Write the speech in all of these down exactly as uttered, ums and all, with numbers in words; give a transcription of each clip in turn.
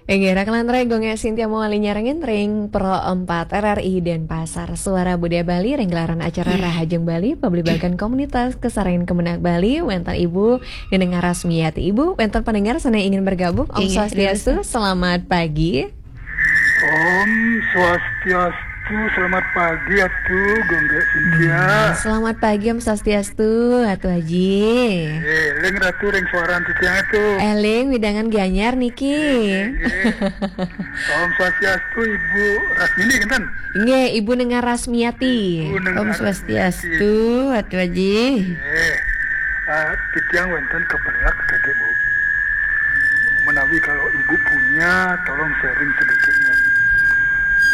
Inggih, raka lan raya, Gung Gek Sintia mawali nyarengin ring Pro empat R R I Denpasar, Suara Budaya Bali, ring gelaran acara Rahajeng Bali, Pablibagan Komunitas Kasarengin Kemenag Bali, wenten Ibu Neneng Rasmiati. Ibu, wenten pendengar sane ingin bergabung. Om Inggih, Swastiastu, selamat pagi. Om Swastiastu, selamat pagi Atu, Gung Gek Sintia. Hmm, selamat pagi, Om Swastiastu, Atu Aji. Eh, ling Ratu ring suaran titiang Atu. Eling, wewidangan Gianyar niki. Nggih, nggih. Om Swastiastu, Ibu Rasmini, kinten? Nggih, Ibu Neneng Rasmiati. Ibu Neneng Om Rasmiati. Swastiastu, Atu Aji. Nggih. Ah, titiang wenten kependak tadi, Bu. Menawi kalau Ibu punya, tolong sharing sedikit, ya.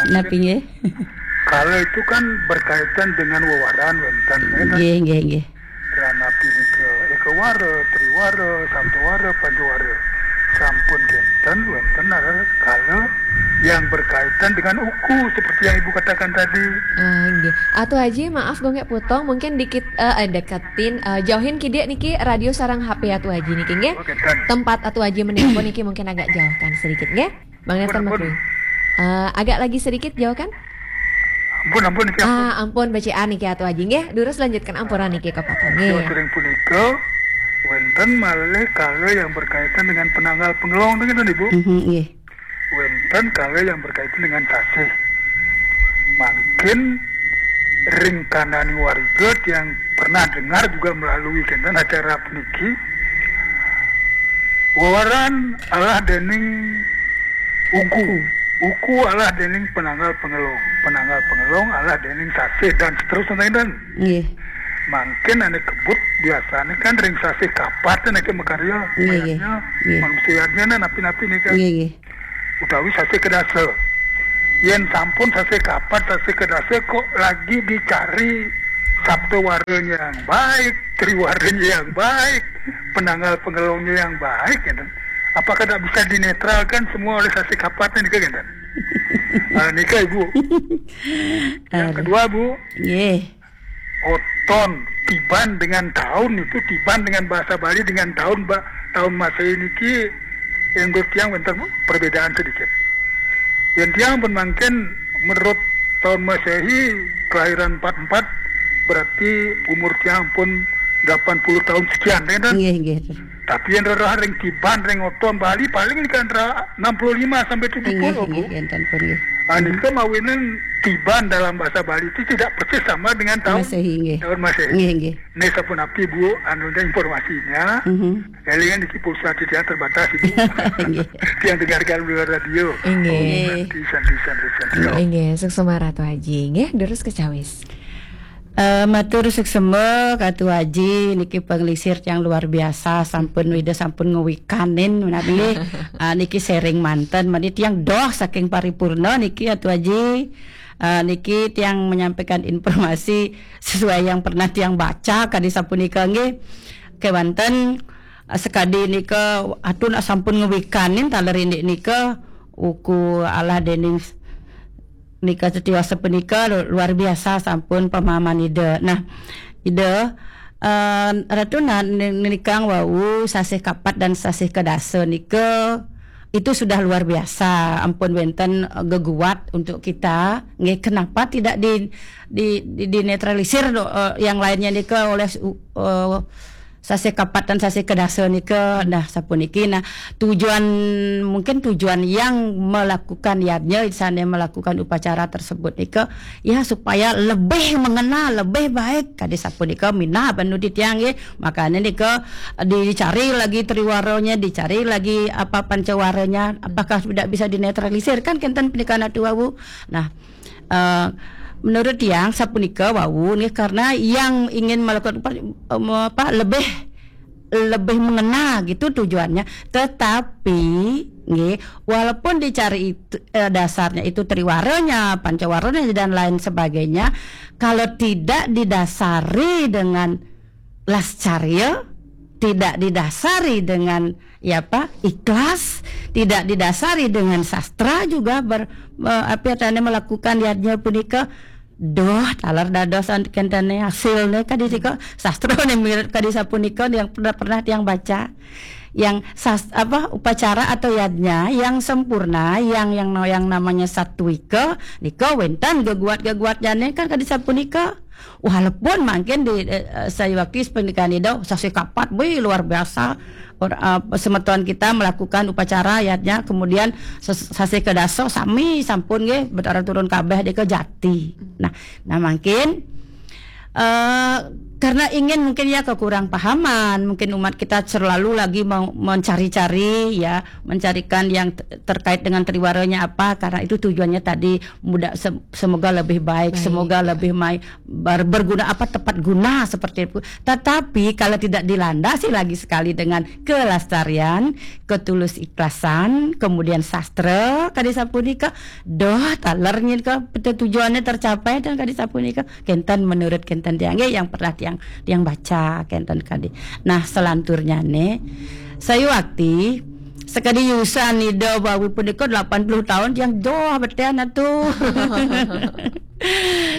Maksudnya, napi nggih? Kala itu kan berkaitan dengan wewaran wenten, ya kan? Nggih, nggih, nggih. Ranapi nika, Ekawara, Triwara, Saptawara, Pancawara. Sampun kenten wenten adalah kala yang berkaitan dengan uku seperti yang Ibu katakan tadi. Ah, nggih. Atu Aji, maaf Gung Gek potong, mungkin dikit, eh, eh, deketin, eh, jauhin kidik niki radio sareng H P Atu Aji niki, nggih. Oh, kenten. Tempat Atu Aji menelpon niki mungkin agak jauhkan sedikit, nggih. Bang Ampun, Nathan ampun. Makruh. Eh, agak lagi sedikit jauhkan. Ampun, ampun, niki ampun. Ah, ampun, becikan niki Atu Aji, nggih. Durus lanjutkan ampura niki, kapapa, nggih. Jauh ring punika, wenten malih kala yang berkaitan dengan penanggal pengelong, nggih, Ibu? Mhm, nggih. Wenten kala yang berkaitan dengan sasih. Mangkin ring kananing warga yang pernah dengar juga melalui kenten acara puniki, wewaran alah dening uku. Uku. Uku alah dening penanggal pengelong. Penanggal pengelong alah dening sasih dan seterusnya, kinten. Nggih. Mangkin ane kebut biasane kan ring sasih kapat ane makarya. Nggih, nggih. Mayadnya, nggih. Manusia yadnya napi-napi nika. Nggih, nggih. Utawi sasih kedasa. Yen sampun sasih kapat, sasih kedasa, kok lagi dicari saptawaranya yang baik, triwaranya yang baik, penanggal pengelongnya yang baik, gitu. Apakah tidak bisa dinetralkan semua oleh sasih kapat nika, gitu? Ah, nika, Ibu. Yang Aduh. Kedua, Bu. Nggih. Oton, tiban dengan tahun itu, tiban dengan bahasa Bali dengan tahun, ba-, tahun Masehi niki, yang menurut tiang wenten perbedaan sedikit. Yang tiang pun mangkin menurut tahun Masehi, kelahiran empat empat, berarti umur tiang pun delapan puluh tahun sekian, ya kan? Nggih, nggih. Tapi yang rerah ring tiban, ring oton Bali paling kan ra-, enam puluh lima sampai tujuh puluh, nggih, Bu. Nggih, enten pun, nggih. Ah, nika mawinan tiban dalam bahasa Bali itu tidak persis sama dengan tahun Masehi, nggih. Tahun Masehi. Nggih, nggih. Nih, sapunapi, Bu, anunya, informasinya. Mhm. Elingan niki pulsa titiang terbatas, Ibu. Nggih. Tiang dengarkan melalui radio. Nggih. Santi, santi, santi, santi. Nggih, suksma Ratu Aji. Nggih, durus kacawis. Eh, matur suksma Katu Aji, niki panglingsir tiang luar biasa, sampun Ida sampun ngewikanin menawi, ah, niki sharing manten, mani tiang doh saking paripurna niki Katu Aji. Ah, niki tiang menyampaikan informasi sesuai yang pernah tiang baca kadi sapunika nggih. Kewanten, ah, sekadi nika Atu nak sampun ngewikanin taler indik nika uku alah dening nika setiasa punika lu-, luar biasa sampun pemahaman Ida. Nah, Ida, eh, Ratu na-, ni-, nikang wau sasih kapat dan sasih kedasa nika itu sudah luar biasa. Ampun wenten, eh, geguat untuk kita. Nggih, kenapa tidak di, di, di, dinetralisir, eh, yang lainnya nika oleh, eh, sasih kapat dan sasih kedasa nika, nah, sapuniki. Nah, tujuan, mungkin tujuan yang melakukan yadnya, sane melakukan upacara tersebut nika, ya, supaya lebih mengenal, lebih baik kadi sapunika minab anu titiang nggih. Makanya nika dicari lagi triwaranya, dicari lagi apa pancawaranya, apakah tidak bisa dinetralisir, kan kenten punika Atu wau. Nah, eh, menurut tiang sapunika wau nggih, karena yang ingin melakukan upa-, em, apa, lebih, lebih mengenal gitu tujuannya. Tetapi nggih, walaupun dicari itu, eh, dasarnya itu triwaranya, pancawaranya dan lain sebagainya, kalau tidak didasari dengan lascarya, tidak didasari dengan, ya apa, ikhlas, tidak didasari dengan sastra juga ber-, eh, apa, tane melakukan yadnya punika, doh, taler dados an-, kentene hasilne kadi nika, sastrane mirip kadi sapunika yang pernah, pernah tiang baca. yang sas, apa, upacara atau yadnya yang sempurna, yang yang yang namanya satwika nika wénten geguat-geguatnyané kan kadi sapunika. Walaupun mangkin di eh, eh, sayuwakti pernikahan Ida sasih kapat, wih, luar biasa. Or, eh, semeton kita melakukan upacara yadnya, kemudian ses- sasih kedasa sami sampun nggih Betara turun kabeh deka jati. Nah, nah mangkin eh karena ingin mungkin ya kekurangpahaman, mungkin umat kita selalu lagi mau mencari-cari ya, mencarikan yang t- terkait dengan triwaranya apa, karena itu tujuannya tadi mudah se- semoga lebih baik, Baik, semoga ya. Lebih mai ber- berguna apa tepat guna seperti itu. Tetapi kalau tidak dilandasi lagi sekali dengan kelestarian, ketulus ikhlasan, kemudian sastra kadi sapunika, doh taler nyin ke tujuannya tercapai dan kadi sapunika kenten menurut kenten tiang nggih yang pernah tiang tiang baca kenten kadi. Nah, selanturnya nih saya waktu sekadi yusan Ida bawi punika delapan puluh tahun yang joh betian atuh.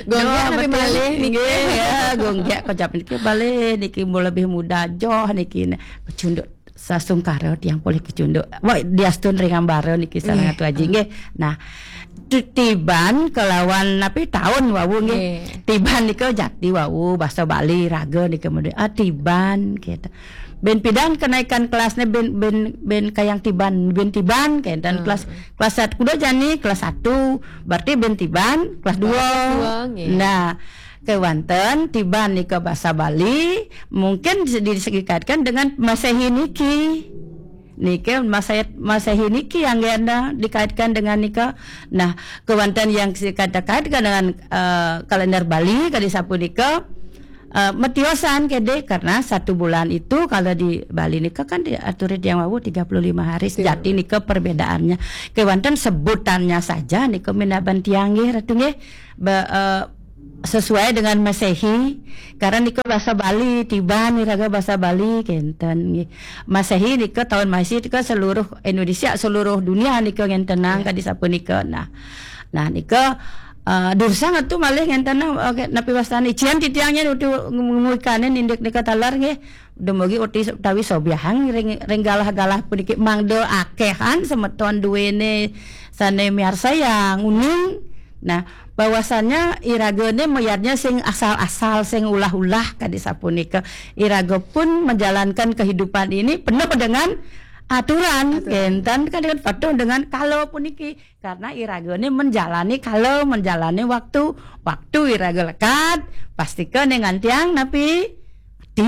Gonggek napi malih niki. Nggih, ya, gonggek kocap niki balik niki mau lebih muda joh niki. Nah, kecunduk sasungkara tiang polih kecunduk. Wah, diastun ring ambara niki sareng Nggih. Atu Aji nggih. Nah, ti- tiban kelawan napi tahun wau nggih. Nggih. Tiban nika jati wau bahasa Bali raga nika mudi. Ah, tiban gitu. Ben pidan kenaikan kelasnya ben ben ben kayang tiban, ben tiban kenten Hmm. Kelas kelas satu kuda jani kelas satu berarti ben tiban kelas dua. Kelas dua, nggih. Nah, kewanten tiban nika bahasa Bali mungkin di- dikaitkan dengan Masehi niki. Niki Masehi, Masehi niki yang ganda dikaitkan dengan nika. Nah, kewanten yang dikait-kaitkan dengan eh, kalender Bali kadi sapunika eh, metiosan kede karena satu bulan itu kalau di Bali nika kan diatur yang wau tiga puluh lima hari. Betul. Jati nika perbedaannya. Kewanten sebutannya saja nika minaban tiang nggih Ratu nggih. Ba- eh, sesuai dengan Masehi karena nika bahasa Bali tiban iraga bahasa Bali kenten nggih. Masehi nika tahun Masehi nika seluruh Indonesia seluruh dunia nika ngentenang Ya. kadi sapunika. Nah, nah nika uh, dursang atuh malih ngentenang okay, napi wastani cian titiangnya utuh ngumukane nindik nika talar nggih. Dumugi uti utawi sobiahang ring ring galah-galah puniki mangda akehan semeton duwene sane miarsayang uning. Nah, bahwasanya iragane mayadnya sing asal-asal sing ulah-ulah kadi sapunika. Iraga pun menjalankan kehidupan ini penuh dengan aturan. Aturan. Kenten kan dengan patuh dengan kala puniki karena iragane menjalani kala menjalani waktu. Waktu iraga lekad pastika ning antiang napi ti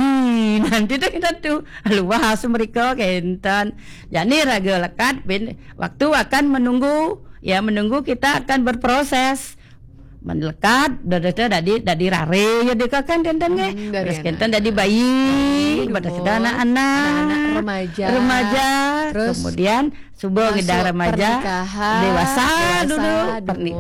nanti tuh kita tuh luas mereka kenten. Jadi raga lekad bin waktu akan menunggu ya menunggu kita akan berproses. Melekat dadi dadi rare ya deka kan kenten nggih. Hmm, dari Terus anak. Kenten dadi bayi, Aduh, pada sudah anak-anak, anak-anak, remaja. remaja, Terus kemudian subuh masuk ngidang remaja, pernikahan, dewasa, dewasa, dulu dumun. Perni-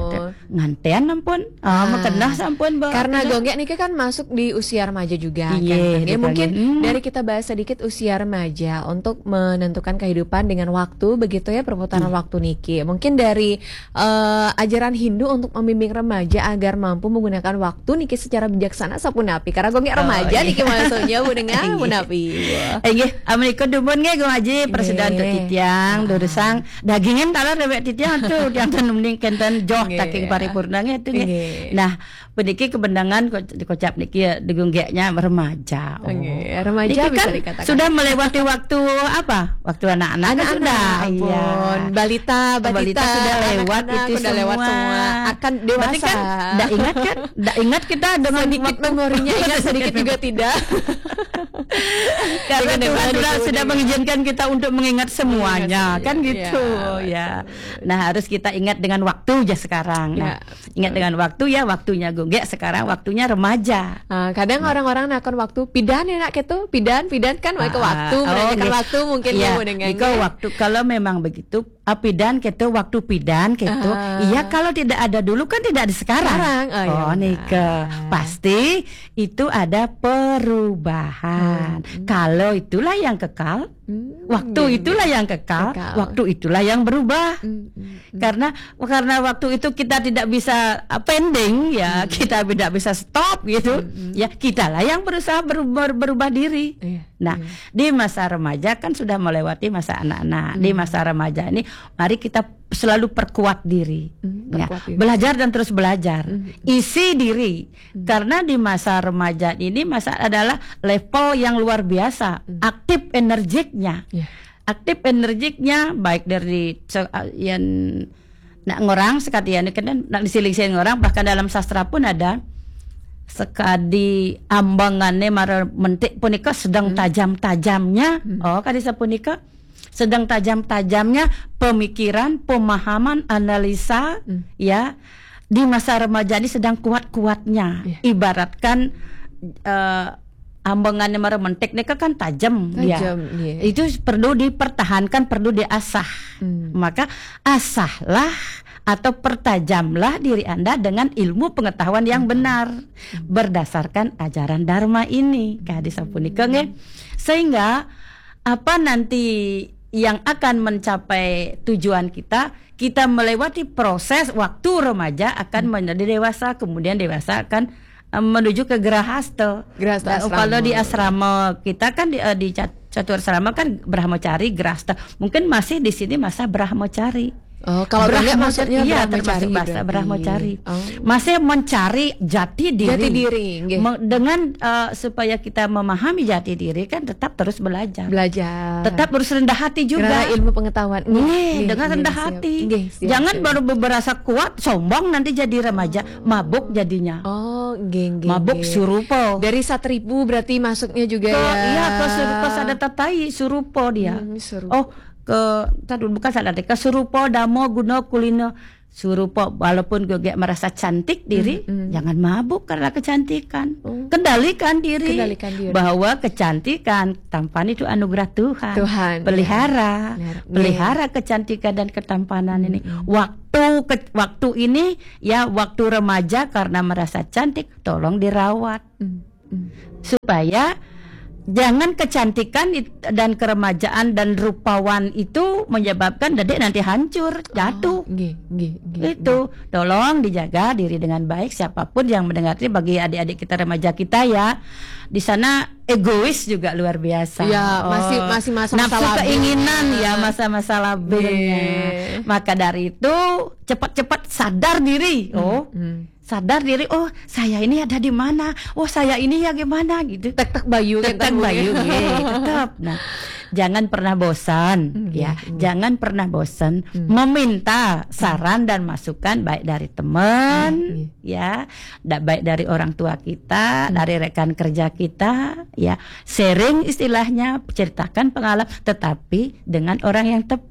nganten ampun, oh, Ah. makenah sampun Mbak. Karena Makenah. Gonggek niki kan masuk di usia remaja juga Iya, kan. Ya, betul. Mungkin Hmm. dari kita bahas sedikit usia remaja untuk menentukan kehidupan dengan waktu begitu ya perputaran Iya. Waktu niki. Mungkin dari eh, ajaran Hindu untuk membimbing remaja agar mampu menggunakan waktu niki secara bijaksana sapunapi. Karena Gonggek Oh, remaja iya. niki maksudnya Bu Dengar Iya. punapi. Wah. Eh, nggih, amun ika dumun nggih Gung Aji, prasida untuk Nggih. titiang, Ah. durusang dagingan taler dewek titiang tuh, tiang tenun ning kenten joh Nggih. taking paripurna nggih tuh nggih. Nggih. Nah, puniki kebenangan ko- dikocap niki ya, digunggeknya remaja. Oh. Nggih, remaja Niki bisa kan dikatakan. Sudah melewati waktu apa? Waktu anak-anak kan Anak-anak, sudah. ampun. Iya. Balita, balita, Balita sudah lewat anak-anak itu udah lewat semua. semua. Akan dewasa. Berarti kan tidak ingat kan? Tidak ingat kita dengan Sedikit waktu. Memorinya ingat, sedikit juga tidak. Karena Dengan Tuhan dewasa sudah, dulu sudah nih. Mengizinkan kita untuk mengingat semuanya, Mengingat kan semuanya. Gitu. Ya, Ya. Nah, harus kita ingat dengan waktu ya sekarang. Nah, Ya. Ingat dengan waktu ya, waktunya Gonggek sekarang waktunya remaja. Ah, kadang orang-orang nakon waktu pidan ya nak gitu, pidan pidan kan ke Ah, waktu, oh, menanyakan nggih. Waktu mungkin Ya, ya mendengar nika waktu kalau memang begitu ah, pidan gitu, waktu pidan gitu. Ah. Iya, kalau tidak ada dulu kan tidak ada sekarang. Sekarang, oh, ya Oh, benar. Nika pasti itu ada perubahan. Hmm. Kalau itulah yang kekal, Hmm, waktu iya, itulah iya. Yang kekal, Kekal. Waktu itulah yang berubah. Hmm, hmm, hmm. Karena karena waktu itu kita tidak bisa uh, pending ya, kita tidak bisa stop gitu. Hmm, hmm. Ya, kitalah yang berusaha berubah, berubah diri. Iya. Nah, di masa remaja kan sudah melewati masa anak-anak. Di masa remaja ini, mari kita selalu perkuat diri. Ya, perkuat diri. Belajar dan terus belajar. Isi diri. Karena di masa remaja ini masa adalah level yang luar biasa. Aktif energiknya. Aktif energiknya baik dari se- yang nak ngorang sekadian kan nak disiling-siling orang, bahkan dalam sastra pun ada sekadi ambangannya mara mentik punika sedang tajam-tajamnya. Oh, kadi sapunika sedang tajam-tajamnya pemikiran, pemahaman, analisa, ya, di masa remaja ini sedang kuat-kuatnya. Ibaratkan eh, ambangannya mara mentik nika kan tajam dia. Itu perlu dipertahankan, perlu diasah. Maka asahlah atau pertajamlah diri Anda dengan ilmu pengetahuan yang benar berdasarkan ajaran Dharma ini. Kadi sapunika nggih. Sehingga apa nanti yang akan mencapai tujuan kita, kita melewati proses waktu remaja akan menjadi dewasa, kemudian dewasa akan eh, menuju ke gerahasta. Gerahasta. Dan asrama. Kalau di asrama kita kan di, eh, di cat- catur asrama kan brahmacari, gerahasta. Mungkin masih di sini masa brahmacari. Oh, kalau Brahmo- maksudnya iya, termasuk bahasa brahmacari. Masih mencari jati diri. Jati diri, nggih. Me- dengan eh, supaya kita memahami jati diri kan tetap terus belajar. Belajar. Tetap harus rendah hati juga. Karena ilmu pengetahuan. Nggih, nggih, dengan nggih, rendah siap. Hati. Nggih, siap, jangan siap. Baru berasa kuat, sombong nanti jadi remaja, mabuk jadinya. Oh, nggih, nggih, mabuk nggih. Surupa. Dari satripu berarti masuknya juga ke, ya. Iya, ke surupa, sada tatai surupa dia. Hmm, surupa. Oh, ke tadi bukan sada ke surupa dama guna kulina. Surupa walaupun juga merasa cantik diri, jangan mabuk karena kecantikan. Kendalikan diri. Kendalikan diri. Bahwa kecantikan, tampan itu anugerah Tuhan. Tuhan, pelihara, ya. Pelihara kecantikan dan ketampanan ini. Waktu ke- waktu ini ya waktu remaja karena merasa cantik, tolong dirawat. Supaya jangan kecantikan it- dan keremajaan dan rupawan itu menyebabkan dedek nanti hancur, jatuh. Nggih, nggih, nggih. Itu tolong dijaga diri dengan baik. Siapapun yang mendengar ini, bagi adik-adik kita, remaja kita ya, di sana egois juga luar biasa. Ya, masih- masih masa-masa nafsu labil. Keinginan ya, masa-masa labilnya. Nggih. Maka dari itu cepat-cepat sadar diri. Oh, sadar diri, oh, saya ini ada di mana, oh, saya ini ya gimana gitu. Tek tek bayu kan. Tek tek bayu, nggih, tetap. Nah, jangan pernah bosan. Ya, jangan pernah bosan meminta saran dan masukan, baik dari teman, ya, da- baik dari orang tua kita, dari rekan kerja kita, ya, sharing istilahnya, ceritakan pengalaman, tetapi dengan orang yang tepat.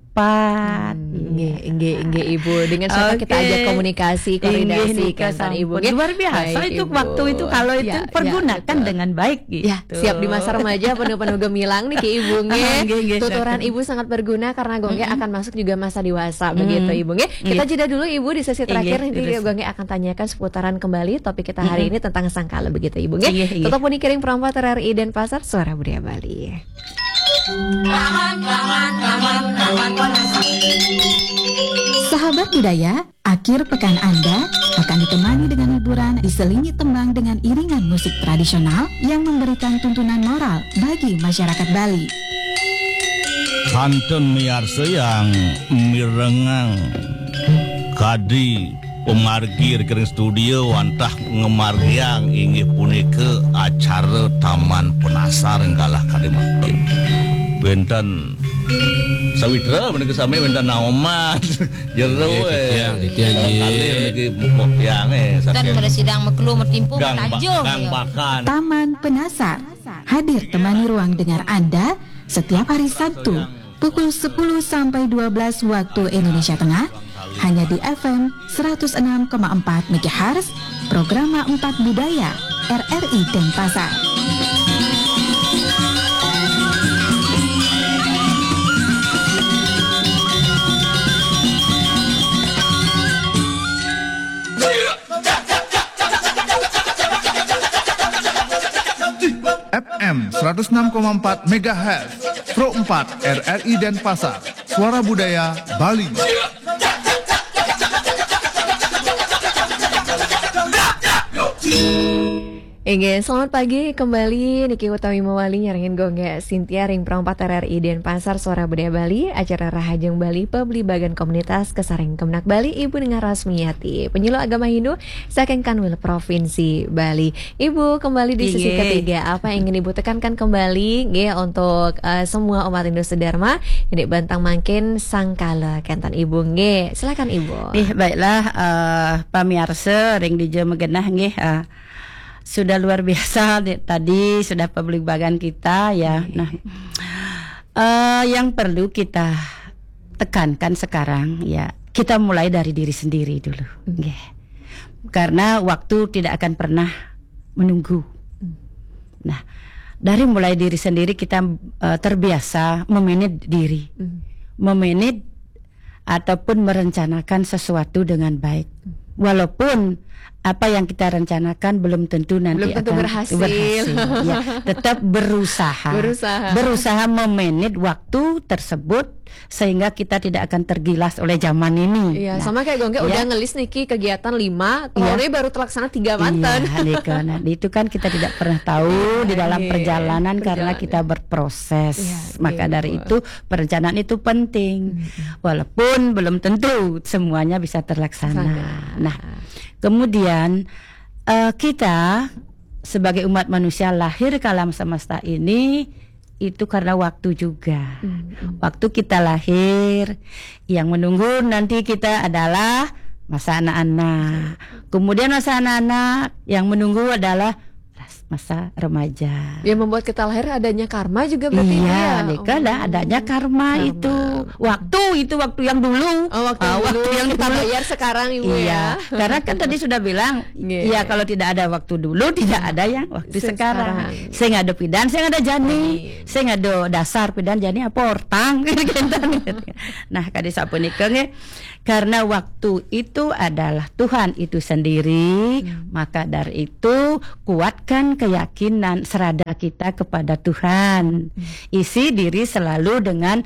Nggih, nggih, nggih, Ibu. Dengan siapa kita ajak komunikasi, koordinasi, kan, Ibu, nggih? Luar biasa. Baik, itu Ibu. Waktu itu kalau itu ya, pergunakan ya, betul. Dengan baik gitu. Ya, siap di masa remaja penuh-penuh gemilang nih, Ki Ibu, nggih. Nggih, nggih, tuturan silakan. Ibu sangat berguna karena Gung Gek akan masuk juga masa dewasa begitu, Ibu, nggih. Kita jeda dulu, Ibu, di sesi terakhir. Nggih, nanti terus. Gung Gek akan tanyakan seputaran kembali topik kita hari ini tentang sangkala begitu, Ibu, nggih. Nggih, nggih. Tetap pun kiring perompat R R I Denpasar, Suara Budaya Bali. Sahabat budaya, akhir pekan Anda akan ditemani dengan hiburan diselingi tembang dengan iringan musik tradisional yang memberikan tuntunan moral bagi masyarakat Bali. Kantun miarsa yang mirengang kadi pemargi ring studio wantah ngemargiang inggih punika acara Taman Penasar enggalah kadi mangkin. Wenten sawitra menika sami wenten naoman. Jero, nggih, eh. Titiang, titiang, nggih. Kalih niki mupuk tiang, eh, dan saking pada sidang mekelu metimpu Gang Ba- metanjung, Gang ya. Bakan. Taman Penasar hadir temani ruang dengar Anda setiap hari Sabtu pukul sepuluh sampai dua belas waktu Indonesia Tengah, hanya di F M seratus enam koma empat megahertz, Programa empat Budaya, R R I Denpasar. F M seratus enam koma empat megahertz, Pro empat R R I Denpasar, Suara Budaya Bali. Inggih, selamat pagi kembali. Niki utawi mawali nyarengin Gung Gek Sintia ring Pro empat R R I Denpasar, Suara Budaya Bali, acara Rahajeng Bali, Pabligbagan Komunitas, kasarengin Kemenag Bali, Ibu Ningar Rasmiati, penyuluh agama Hindu saking Kanwil Provinsi Bali. Ibu, kembali di sesi ketiga. Apa yang ingin Ibu tekankan kembali, nggih, untuk, eh, semua umat Hindu sedharma, ini bentang mangkin sangkala kenten Ibu, nggih. Silakan, Ibu. Nggih, baiklah, eh, pamiarsa ring dija magenah, nggih, eh, sudah luar biasa di-, tadi sudah pabligbagan kita, ya. Nggih. Nah, eh, yang perlu kita tekankan sekarang, ya, kita mulai dari diri sendiri dulu, nggih. Karena waktu tidak akan pernah menunggu. Nah, dari mulai diri sendiri kita, eh, terbiasa memanage diri. Memanage ataupun merencanakan sesuatu dengan baik. Walaupun apa yang kita rencanakan belum tentu nanti Belum tentu akan berhasil. Berhasil. Ya, tetap berusaha. Berusaha. Berusaha memanage waktu tersebut sehingga kita tidak akan tergilas oleh zaman ini. Iya, nah, sama kayak Gung Gek, ya, udah ngelis niki kegiatan lima, iya, baru terlaksana tiga manten. Iya, nika. Nah, itu kan kita tidak pernah tahu di dalam, iya, perjalanan karena kita berproses. Iya, maka dari itu perencanaan itu penting. Walaupun belum tentu semuanya bisa terlaksana. Nah, kemudian, eh, kita sebagai umat manusia lahir ke alam semesta ini itu karena waktu juga. Waktu kita lahir, yang menunggu nanti kita adalah masa anak-anak. Kemudian masa anak-anak, yang menunggu adalah ras-, masa remaja. Yang membuat kita lahir adanya karma juga berarti, iya, ya? Nika, oh, dah adanya karma itu. Waktu itu, waktu yang dulu. Oh, waktu yang dulu. Kita bayar sekarang, Ibu, iya, ya. Karena kan tadi sudah bilang, nggih, ya, kalau tidak ada waktu dulu, tidak ada yang waktu sekarang. Sekarang. Sing ada pidan, sing ada jani. Amin. Sing ada dasar pidan jani apa ortang. Nah, kadi sapunika, nggih. Karena waktu itu adalah Tuhan itu sendiri, maka dari itu kuatkan keyakinan serada kita kepada Tuhan. Isi diri selalu dengan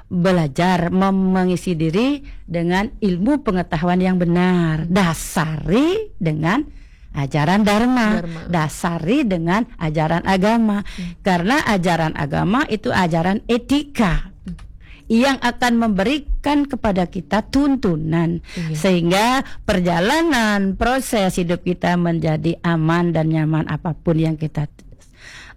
belajar, mem-, mengisi diri dengan ilmu pengetahuan yang benar. Dasari dengan ajaran dharma. Dharma. Dasari dengan ajaran agama. Karena ajaran agama itu ajaran etika yang akan memberikan kepada kita tuntunan, iya, sehingga perjalanan proses hidup kita menjadi aman dan nyaman apapun yang kita,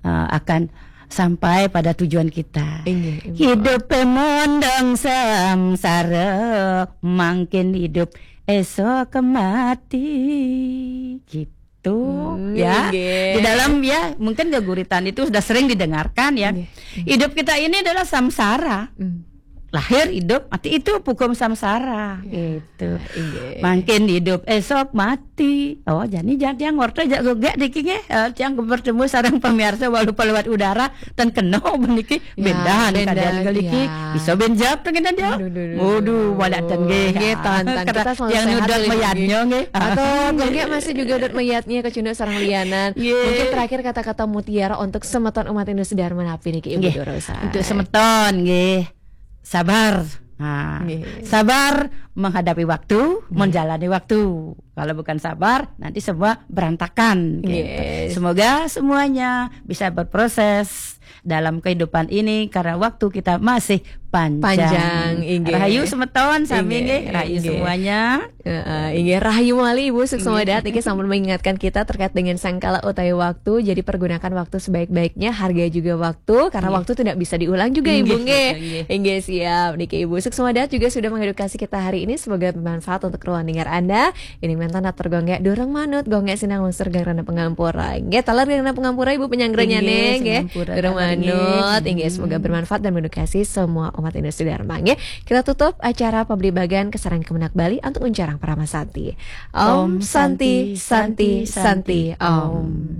eh, akan sampai pada tujuan kita. Inggih, inggih. Hidup pemondong samsara, mangkin hidup esok mati. Gitu. Hmm, ya, nggih. Di dalam, ya, mungkin geguritan itu sudah sering didengarkan, ya. Nggih. Hidup kita ini adalah samsara. Lahir, hidup, mati, itu hukum samsara. Ya. Gitu. Inggih. Mangkin hidup, esok mati. Oh, jani jani tiang ngorta jak gegek niki, nggih. Eh, tiang bertemu sareng pemirsa walau lewat udara, ten kena niki. Ya, bendan, bendan kadian niki, ya. Bisa benjap dengan dia. Aduh, aduh, aduh, aduh. Waduh, wadak ten nggih. Nggih, tan, tan. Kita selalu sehat, yang nudut mayadnya, nggih. Atau nggih, masih juga nudut mayadnya kecunduk sareng lianan. Nggih. Mungkin terakhir kata-kata mutiara untuk semeton umat Hindu sedharma napi niki, Ibu Dorosa. Untuk semeton, nggih. Sabar. Nah, nggih, sabar menghadapi waktu, nggih, menjalani waktu. Kalau bukan sabar, nanti semua berantakan, gitu. Yes. Semoga semuanya bisa berproses dalam kehidupan ini karena waktu kita masih panjang. Panjang, inggih. Rahayu semeton sami, inggih, nggih. Rahayu, inggih, semuanya. Heeh, inggih, rahayu malih Ibu, suksma dahat niki sampun mengingatkan kita terkait dengan sangkala utawi waktu. Jadi pergunakan waktu sebaik-baiknya, hargai juga waktu karena waktu tidak bisa diulang juga, Ibu, nggih, nggih. Betul, nggih. Inggih, siap. Niki Ibu, suksma dahat juga sudah mengedukasi kita hari ini. Semoga bermanfaat untuk ruang dengar Anda. Ini mantan atur Gung Gek, durung manut, Gung Gek sinang lungsur geng rena pangampura. Nggih, taler geng rena pangampura, Ibu, penyanggranya, inggih, nggih. Durung manut, inggih, semoga bermanfaat dan mengedukasi semua umat Hindu sedharma, nggih. Kita tutup acara pabligbagan kasarengin Kemenag Bali antuk uncarang Parama Santi. Om Santi, Santi, Santi, Om.